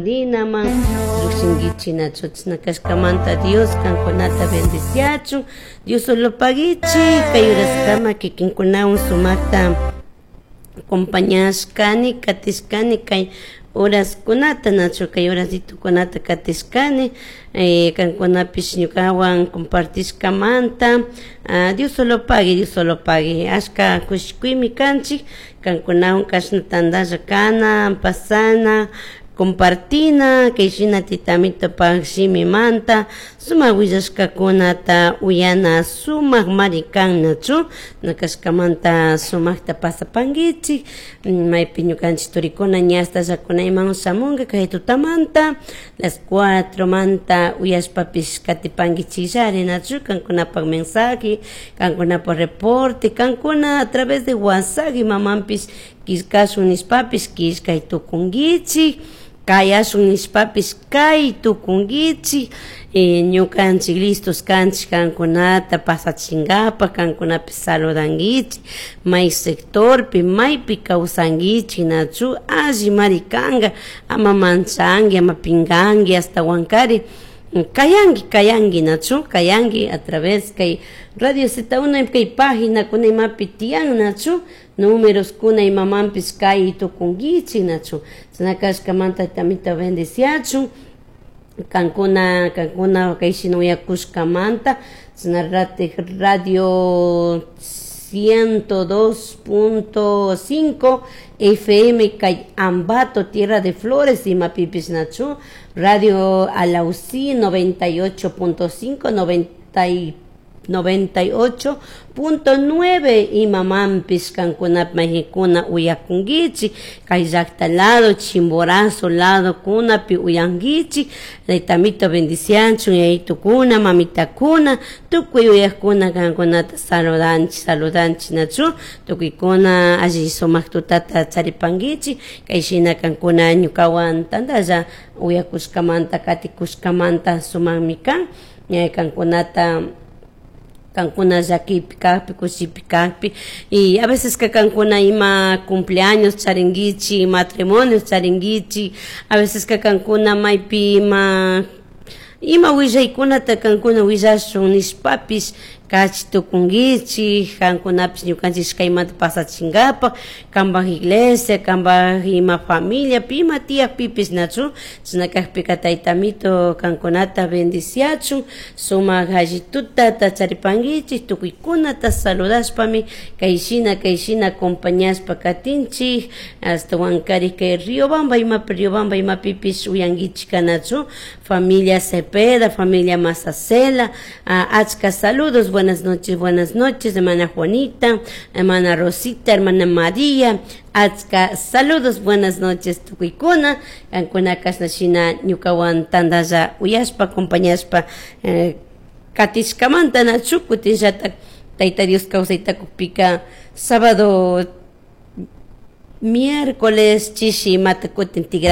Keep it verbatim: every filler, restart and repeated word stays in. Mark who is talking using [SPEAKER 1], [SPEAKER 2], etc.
[SPEAKER 1] Dinaman llujshinkichik nachu chashna kashkamanta Dios kankunata bendiciachun. Dios solo paguichi kay uraskama kikinkunawan sumakta acompañashkani, katishkani kay horaskunata, nachu, kay horasitukunata katishkani eh, kankunapish ñukawan compartishkamanta. ah, Dios solo pague, Dios solo pague. Ashka kushikuymi kanchik kankunawan kashna tantalla kana, pasana, compartina kay shina titamitopaj shimimanta sumak willashkakunata uyana sumak mari kan, nachu. Kashkamanta sumakta pasapankichik. Maypi ñukanchik turikuna ñastallakuna imawan shamunka kay tutamanta las cuatro manta uyashpapish katipankichikllari, nachu. Kankunapak mensaje, kankunapak reporte, kankuna a través de WhatsApp imamanpish killkashun nishpapish killkay tukunkichik, kayashun nishpapish kay tukunkichik. eh, ñukanchik listos kanchik kankunata pasachinkapak, kankunapish saludankichik may sectorpi maypi kawsankichik, nachu. Alli mari kanka, ama manchanki, ama pinkanki, ashtawankari kayanki, kayanki, nachu, kayanki a través kay Radio Z uno, kay página kuna imapi tiyan, nachu, números kuna imamanpish kay tukunkichik, nachu. Chashna kashkamanta tamita bendiciachun kankuna kankuna kay shina uyakushkamanta. Chashna Radio ciento dos punto cinco F M kay Ambato, Tierra de Flores, imapipish, nachu. Radio Alausí noventa y ocho punto cinco, noventa noventa y ocho punto nueve imamanpish kankunap mayqikuna uyakunkichik kay llakta lado, Chimborazo lado kunapi uyankichik. Taytamito bendicianchun yayitukuna, mamitakuna, tukuy uyakuna. Kankunata saludanchik, saludanchik, nachu. Tukuykuna alli sumak tutata charipankichik kay shina kankuna ñukawan tantalla uyakushkamanta, katikushkamanta. Sumakmi kan kankunata, kankuna llakipi kakpi, kushipi kakpi. Y a veces que kankuna ima cumpleaños charinkichik, matrimonios charinkichik, a veces que kankuna maypi ima ima willaykunata kankuna willashun nishpapish kachi tukunkichik. Kankunapish ñukanchik ishkaymanta pasachinkapak kanpak iglesia, kanpak ima familiapi ima tiyakpipish, nachu. Chashna kakpika Taytamito kankunata bendiciachun, sumak alli tutata charipankichik. Tukuykunata saludashpami kay shina kay shina acompañashpa katinchik. Ashtawankari kay Riobamba imapi, Riobamba imapipish uyankichik, nachu. Familia Cepeda, familia Mazacela, achka saludos. Buenas noches, buenas noches, hermana Juanita, hermana Rosita, hermana María, achka saludos, buenas noches tukuykuna, kankuna kashna shina ñukawan tantalla uyashpa, acompañashpa eh, katishkamanta, nachu. Kutinllatak Tayta Dios kawsayta kukpika sábado, miércoles chishi imata kutin tigra.